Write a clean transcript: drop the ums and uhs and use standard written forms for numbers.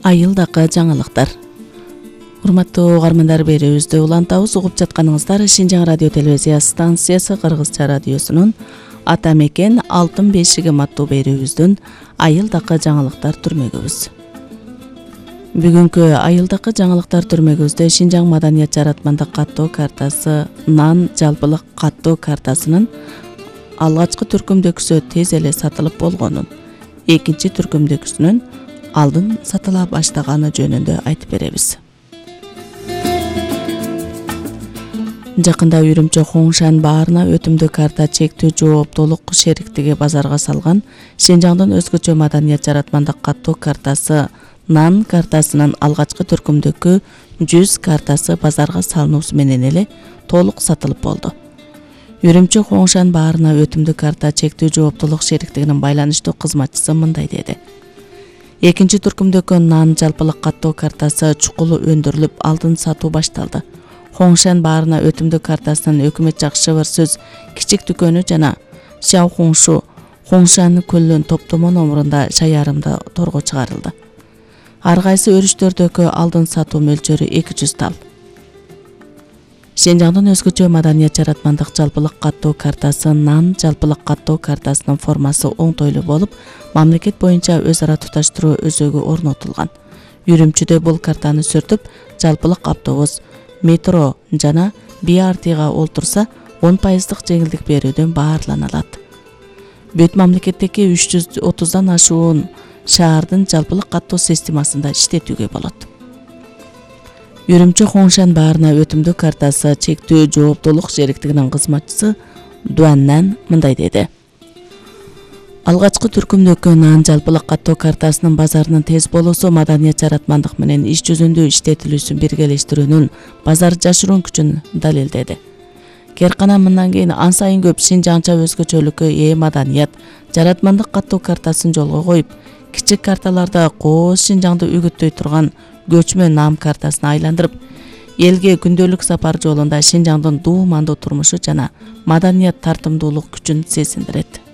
Айылдакы жаңылыктар. Урматтуу угармандар, берүүбүздү улантабыз. Угуп жатканыңыздар Шинжаң радио телевизия станциясы Кыргызча радиосунун Ата мекен алтын бешиги аттуу берүүбүздүн айылдакы жаңылыктар түрмөгүбүз. Бүгүнкү айылдакы жаңылыктар түрмөгүбүздө Шинжаң маданият жаратмандык каттоо картасы нан жалпылык каттоо картасынын алгачкы түркүмдөгүсү тез эле сатылып болгонун, экинчи түркүмдөгүсүнүн алдын сатыла баштаганы жөнүндө айтып беребиз. Жакында Үрүмчү Хоңшан баарына өтүмдүү карта чектүү жооптуулук шериктиги базарга салган Шинжаңдын өзгөчө маданият жаратмандык каттоо картасы нан картасынын алгачкы түркүмдөгү 100 картасы базарга салынуусу менен эле толук сатылып болду. Үрүмчү Хоңшан баарына өтүмдүү карта чектүү жооптуулук шериктигинин байланыштуу кызматчысы мындай деди. Экинчи түркүмдөгү нан жалпылык каттоо картасы чукулу өндүрүлүп, алдын сатуу башталды. Хоңшан баарына өтүмдүү картасынын өкмөт жак шыбыр сөз кичик дүкөнү жана Шаохоңшу Хоңшан көлүнүн топтомо номурунда шаярымда торго чыгарылды. Ар кайсы өрүштөрдөгү алдын сатуу мөлчөрү 200 тал. Шинжаңдын өзгөчө маданият жаратмандык жалпылык каттоо картасы нан жалпылык каттоо картасынын формасы оңтойлуу болуп, мамлекет боюнча өз ара туташтыруу өзөгү орнотулган. Үрүмчүдө бул картаны сүртүп, жалпылык автобус, метро жана BRT-га олтурса 10% жеңилдик берүүдөн баарлана алат. Бүт мамлекеттеги 330дан ашуун шаардын жалпылык каттоо системасында иштетүүгө болот. Үрүмчү Хоңшан баарына өтүмдүү картасы чектүү жооптуулук шериктигинин кызматчысы Дуаннан мындай деди. Алгачкы түркүмдөгү нан жалпылык каттоо картасынын базарынын тез болуусу маданият жаратмандык менен иш жүзүндө иштетилүүсүн биргелештирүүнүн базар жашыруун күчүн далилдеди. Керкана мындан кийин ан сайын көп шинжаңча өзгөчөлүккө ээ маданият жаратмандык каттоо картасын жолго коюп, кичик карталарда кооз Шинжаңды үгүттөй турган көчмө нам картасына айландырып, элге күндөлүк сапар жолунда Шинжаңдын дуумандуу турмушу жана маданият тартымдуулук күчүн сезиндирет.